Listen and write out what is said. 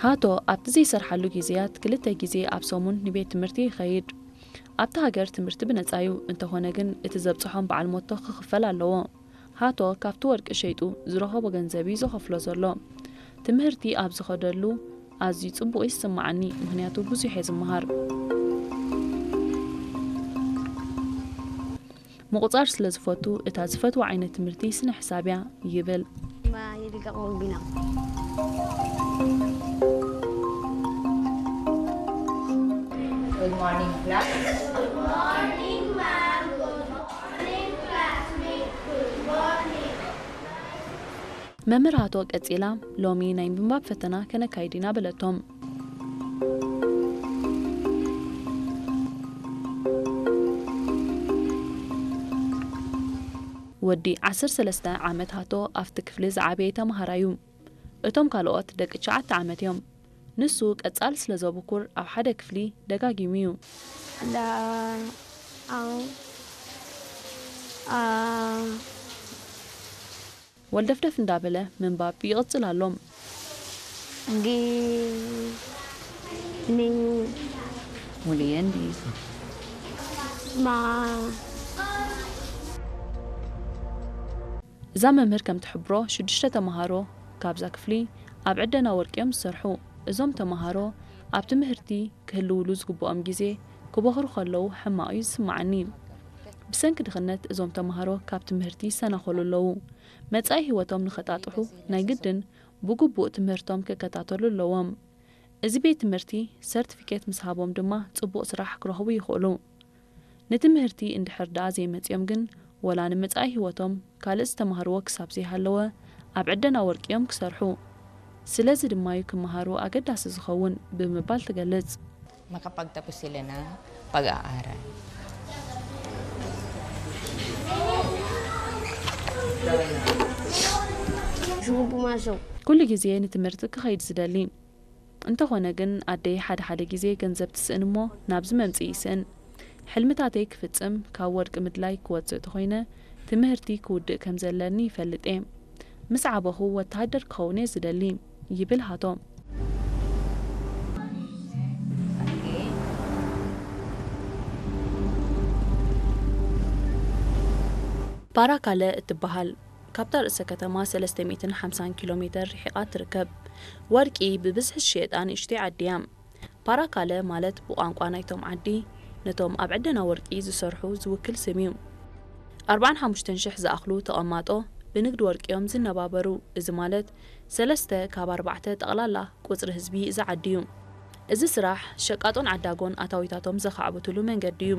ሃቶ ኣብቲ ዘይሰርሓሉ ግዜያት ክልተ ግዜ ኣብ ሰሙን ንቤት ትምህርቲ ይኸይድ። ኣብቲ ሃገር ትምህርቲ ብነጻ እዩ፣ እንተኾነ ግን እቲ ዘብጽሖም በዓል ሞቶ ክኽፈል ኣለዎ። ሃቶ ካብቲ ወርቂ ሸይጡ ዝረኸቦ ገንዘብ እዩ ዘኸፍሎ ዘሎ። ትምህርቲ ኣብ ዝኸደሉ ኣዝዩ ጽቡቕ ይስምዓኒ፣ ምኽንያቱ ብዙሕ እየ ዝመሃር። ምቑጻር ስለ ዝፈቱ፣ እታ ዝፈትዋ ዓይነት ትምህርቲ ስነ ሕሳብ እያ ይብል። Good morning, class. መምህር ሃቶ ቀጺላ፣ ሎሚ ናይ ምንባብ ፈተና ከነካይድ ኢና በለቶም። ወዲ ዓሰርተ ሰለስተ ዓመት ሃቶ ኣብቲ ክፍሊ ዝዓበየ ተምሃራይ እዩ። እቶም ካልኦት ደቂ ትሽዓተ ዓመት እዮም። ንሱ ቀጻሊ ስለ ዘብኩር ኣብ ሓደ ክፍሊ ደጋጊሙ እዩ። لا أو آه ወልደፍደፍ እንዳበለ ምንባብ ይቕጽል ኣሎ። جي ني Muli yan di. ما እዛ መምህር ከም ትሕብሮ ሽዱሽተ ተምሃሮ ካብዛ ክፍሊ ኣብ ዕደና ወርቂ እዮም ዝሰርሑ። እዞም ተምሃሮ ኣብ ትምህርቲ ክህልውሉ ዝግብኦም ግዜ ክበኽሩ ከለዉ ሕማቕ እዩ ዝስምዓኒ። ብሰንኪ ድኽነት እዞም ተምሃሮ ካብ ትምህርቲ ይሰናኸሉ ኣለዉ። መጻኢ ህይወቶም ንኸጣጥሑ ናይ ግድን ብግቡእ ትምህርቶም ክከታተሉ ኣለዎም። እዚ ቤት ትምህርቲ ሰርቲፊኬት ምስ ሃቦም ድማ ጽቡቕ ስራሕ ክረኽቡ ይኽእሉ። ንትምህርቲ እንድሕር ደኣ ዘይመጽዮም ግን ወላ ንመጻኢ ህይወቶም ካልእ ዝተማህርዎ ክሳብ ዘይሃለወ ኣብ ዕደና ወርቂ እዮም ክሰርሑ። ስለዚ ድማዩ ክመሃሩ ኣገዳሲ ዝኸውን ብምባል ትገልጽ። Makapagtapos sila ng pag-aaral. شو بماسو ኩሉ ግዜ ንትምህርቲ ክኸይድ ዝደሊ እንተኾነ ግን ኣደይ ሓደ ሓደ ግዜ ገንዘብ ትስእን እሞ ናብዚ መምጽኢ ይስእን። ሕልምታተይ ክፍጽም ካብ ወርቂ ምድላይ ክወጽእ ተኾይነ ትምህርቲ ክውድእ ከም ዘለኒ ይፈልጥ እየ። ምስ ዓበኹ ወተሃደር ክኸውን እየ ዝደሊ ይብል ሃቶ። ፓራካለ እትበሃል ካብታ ርእሰ ከተማ ሰለስተ ሚእትን ሓምሳን ኪሎ ሜተር ርሒቓ ትርከብ። ወርቂ ብብዝሒ ዝሽየጣ ንእሽተይ ዓዲ እያ። ፓራካለ ማለት ብቋንቋ ናይቶም ዓዲ ነቶም ኣብ ዕደና ወርቂ ዝሰርሑ ዝውክል ስም እዩ። ኣርባዓን ሓሙሽተን ሽሕ ዝኣኽሉ ተቐማጦ ብንግዲ ወርቂ እዮም ዝነባበሩ። እዚ ማለት ሰለስተ ካብ ኣርባዕተ ጠቕላላ ቁጽሪ ህዝቢ እዚ ዓዲ እዩ። እዚ ስራሕ ሸቃጦን ዓዳጎን ኣታዊታቶም ዘኻዕብትሉ መንገዲ እዩ።